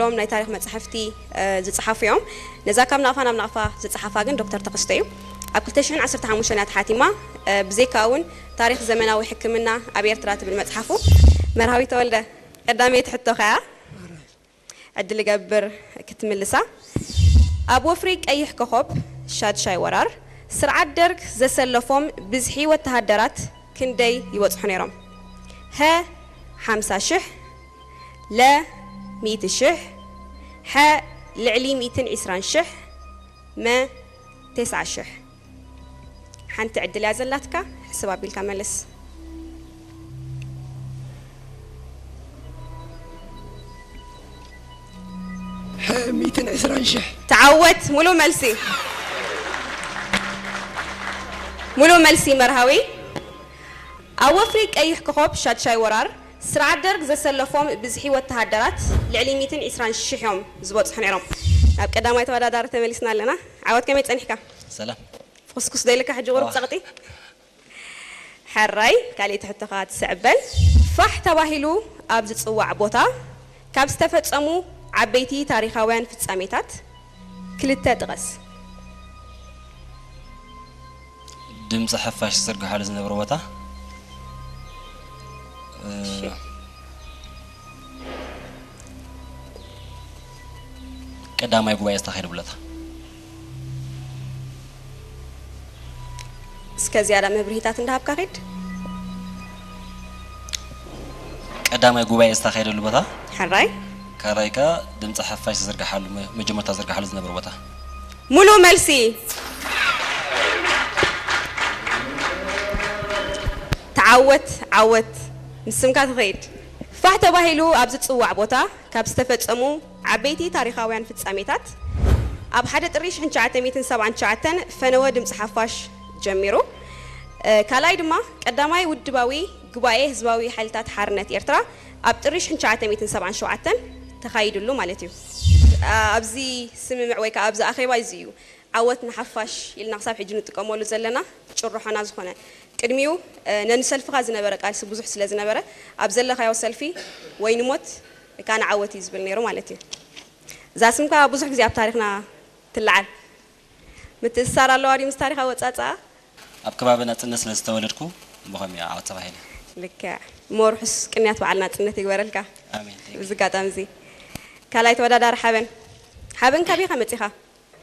ሎም ናይ ታሪኽ መጻሕፍቲ ዝጽሓፉ እዮም። ነዛ ካብ ናቕፋ ናብ ናቕፋ ዝጽሓፋ ግን ዶክተር ተኸስተ እዩ። ኣብ ክልተ ሽሕን ዓሰርተ ሓሙሽተን እያ ተሓቲማ። ብዘይካ እውን ታሪኽ ዘመናዊ ሕክምና ኣብ ኤርትራ ትብል መጽሓፉ። መርሃዊ ተወልደ፣ ቀዳመይቲ ሕቶኻ እያ። ዕድል እገብር ክትምልሳ። ኣብ ወፍሪ ቀይሕ ኮኾብ ሻድሻይ ወራር ስርዓት ደርግ ዘሰለፎም ብዝሒ ወተሃደራት ክንደይ ይበጽሑ ነይሮም? ሀ ሓምሳ ሽሕ፣ ለ ሚእቲ ሽሕ፣ ሐ ልዕሊ ሚእትን ዕስራን ሽሕ፣ መ ተስዓ ሽሕ። ሓንቲ ዕድል እያ ዘላትካ፣ ሕስብ ኣቢልካ መልስ። ሐ ሚእትን ዕስራን ሽሕ። ተዓወት። ሙሉ መልሲ፣ ሙሉ መልሲ መርሃዊ። ኣብ ወፍሪ ቀይሕ ኮኾብ ሻድሻይ ወራር ስርዓት ደርግ ዘሰለፎም ብዝሒ ወተሃደራት ልዕሊ ሚእትን ዕስራን ሽሕ እዮም ዝበጽሑ ነይሮም። ናብ ቀዳማይ ተወዳዳሪ ተመሊስና ኣለና። ዓወት፣ ከመይ ጸኒሕካ? ሰላም። ፍኹስኩስ ዶ ኢልካ ሕጂ ቁሩብ ጸቕጢ? ሕራይ፣ ካልኣይቲ ሕቶኻ ትስዕበን። ፋሕ ተባሂሉ ኣብ ዝጽዋዕ ቦታ ካብ ዝተፈጸሙ ዓበይቲ ታሪኻውያን ፍጻሜታት ክልተ ጥቐስ። ድምፂ ሓፋሽ ዝዝርግሓሉ ዝነበረ ቦታ እ፣ ቀዳማይ ጉባኤ ዝተኻየደ ቦታ። እስከ ዝያዳ መብርሂታት እንዳሃብካ ኺድ። ቀዳማይ ጉባኤ ዝተኻየደሉ ቦታ። ሕራይ። ካልኣይ ከ ድምፂ ሓፋሽ ዝዝርግሓሉ መ- መጀመርታ ዝዝርግሓሉ ዝነበረ ቦታ። ሙሉ መልሲ። ተዓወት ዓወት፣ ምስ ስምካ ትኸይድ። ፋሕ ተባሂሉ ኣብ ዝጽዋዕ ቦታ ካብ ዝተፈጸሙ ዓበይቲ ታሪኻውያን ፍጻሜታት፣ ኣብ ሓደ ጥሪ ሽሕን ትሽዓተ ሚእትን ሰብዓን ትሽዓተን ፈነወ ድምፂ ሓፋሽ ጀሚሩ። እ፣ ካልኣይ ድማ ቀዳማይ ውድባዊ ጉባኤ ህዝባዊ ሓይልታት ሓርነት ኤርትራ ኣብ ጥሪ ሽሕን ትሽዓተ ሚእትን ሰብዓን ሸውዓተን ተኻይድሉ ማለት እዩ። እ፣ ኣብዚ ስምምዕ ወይ ከዓ ኣብዚ ኣኼባ እዚ እዩ ዓወት ንሓፋሽ ኢልና ክሳብ ሕጂ ንጥቀመሉ ዘለና ጭርሖና ዝኾነ። ቅድሚኡ፣ እ፣ ነንሰልፍኻ ዝነበረ ቃልሲ ብዙሕ ስለ ዝነበረ፣ ኣብ ዘለኻዮ ሰልፊ ወይ ንሞት ወይ ከዓ ንዓወት እዩ ዝብል ነይሩ ማለት እዩ። እዛ ስም ከዓ ብዙሕ ግዜ ኣብ ታሪኽና ትለዓል። ምትእስሳር ኣለዋ ድዩ ምስ ታሪኽ ኣወፃፅኣ? ኣብ ከባቢ ናፅነት ስለ ዝተወለድኩ ብኸምኡ ዓወት ተባሂለ። ልክዕ። እሞ ርሑስ ቅንያት በዓል ናፅነት ይግበረልካ። ኣሜን። ብዚ ኣጋጣሚ እዚ ካልኣይ ተወዳዳሪ ሓበን። ሓበን፣ ካበይ ኢኻ መፂኻ?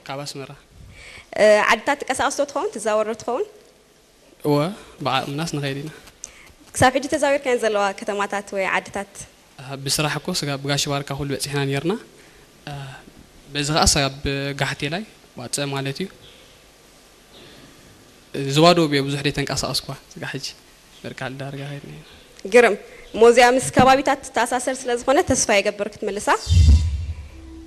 ካብ ኣስመራ። እ፣ ዓድታት ትቀሳቀስ ዶ ትኸውን? ትዛወር ዶ ትኸውን? እወ፣ ብዓቕምናስ ንኸይድ ኢና። ክሳብ ሕጂ ተዛዊርካየን ዘለዋ ከተማታት ወይ ዓድታት? ብስራሕ እኮ ስጋ ብጋሽ ባርካ ኩሉ በፂሕና ነርና። በዚ ከዓ ስጋብ ጋሕቴላይ ዋፀ ማለት እዩ። ዝባዶ ብዮ ብዙሕ ደይ ተንቀሳቀስኳ ስጋ ሕጂ በርካል ዳርጋ ከይድና ኢና። ግርም። ሞዚያ ምስ ከባቢታት ትተኣሳሰር ስለ ዝኾነ ተስፋ የገብር ክትምልሳ።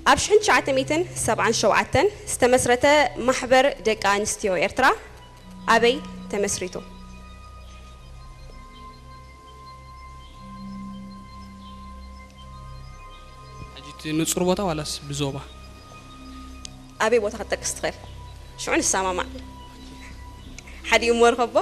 ኣብ ሽሕን ትሽዓተ ሚእትን ሰብዓን ሸውዓተን ዝተመስረተ ማሕበር ደቂ ኣንስትዮ ኤርትራ ኣበይ ተመስሪቱ? ሕጂ እቲ ንጹር ቦታ ዋላስ ብዞባ? ኣበይ ቦታ ክትጠቅስ ትኽእል? ሽዑ ንሰማማዕ። ሓዲኡ እሞ ርኸቦ።